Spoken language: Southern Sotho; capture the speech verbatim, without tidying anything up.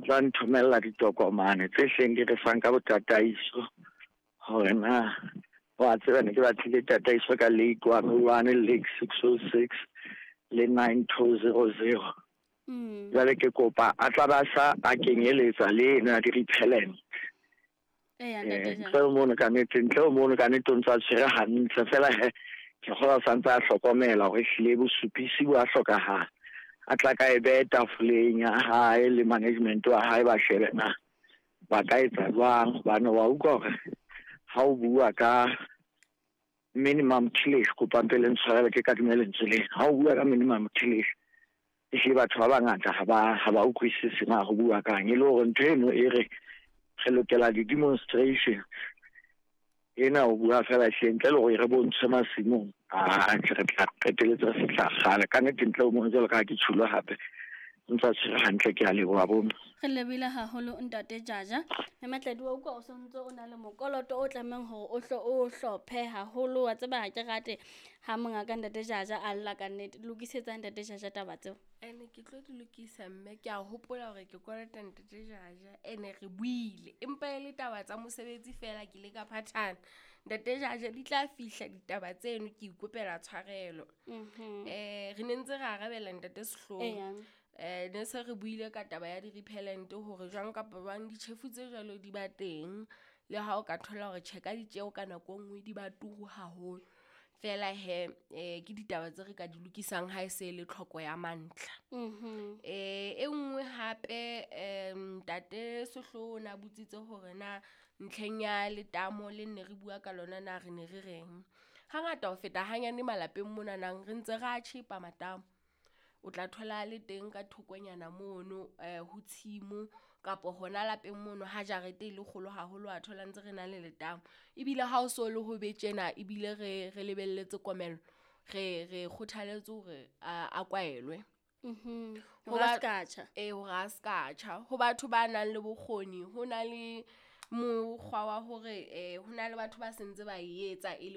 tla nthomella ditokomane tse hleng di re fang ka botataiso hore na wa tseba ne ke batlile tataiso ka lake one oh one, lake six oh six le nine two zero zero. Mm. Jwale ke kopa a tla ba sa a kenyeletsa le eno ya di-repellent. Eya, Eh, ntate ntle Jaja. ho mono ka nnete, ntle ho mono ka nnete o ntse a tshwere hantle fela he ke kgolwa o santse a hlokomela hore ehlile bosupisi bo a hlokahala. A tla ka e behe tafoleng ya hae le management wa hae ba shebe na ba ka etsa jwang hobane wa utlwa hore ha o bua ka minimum tillage, kopa mpe le ntshwarele ke kadime lentswe lena. Ha o bua ka minimum tillage, ehlile batho ba bangata ha ba ha ba utlwisise na ho bua kang, e le hore ntho eno e re re lokela di-demonstration ena o bua fela ehlile ntle le hore re bontshwe masimong, ah re tla qeteletse re fihla kgale ka nnete. Ntle ho mono jwalo ka ha ke tjhulo hape o ntsa tshwere hantle, ke a leboha bomme. Re lebile haholo ntate Jaja. Mme Matladi, wa utlwa o sontso o na le mokoloto o tlamehang hore o hlo o hlophe haholo. Wa tseba ha ke rate ha mongaka ntate Jaja a lla ka nnete. Lokisetsa ntate Jaja taba tseo. Ene ke tlo di lokisa mme ke a hopola hore ke kolota ntate Jaja, ene re buile empa e le taba tsa mosebetsi fela ke ile ka phathana. Ntate Jaja, di tla fihla ditaba tseno, ke ikopela tshwarelo. Mhm. Eh re ne ntse re arabela ntate Sehloho. Eya. Eh ne se re buile ka taba ya di-repellent hore jwang kapa jwang ditjhefu tse jwalo di ba teng, le ha o ka thola hore tjhe ka ditjeho ka nako e nngwe di ba turu haholo. Fela he eh ke ditaba tse re ka di lokisang ha e se le tlhoko ya mantlha. Mhm. Eh e nngwe hape, em ntate Sehloho o na botsitse hore na ntlheng ya letamo le nne re bua ka lona na re ne re reng. Hangata ho feta hanyane malapeng monanang re ntse re a tjhepa matamo. O tla thola le teng ka thokonyana mono eh ho tshimo kapa hona lapeng mono ha jarete e le kgolo haholo, wa thola ntse re na le letamo. Ebile ha o so le ho be tjena ebile re re lebelletse komello, re re kgothaletse hore a a kwaelwe. Mhm. Ho Hore a ba ska tjha. Eh hore a ska tjha. Ho batho ba nang le bokgoni ho na le mokgwa wa hore eh ho na le batho ba sentse ba e etsa e le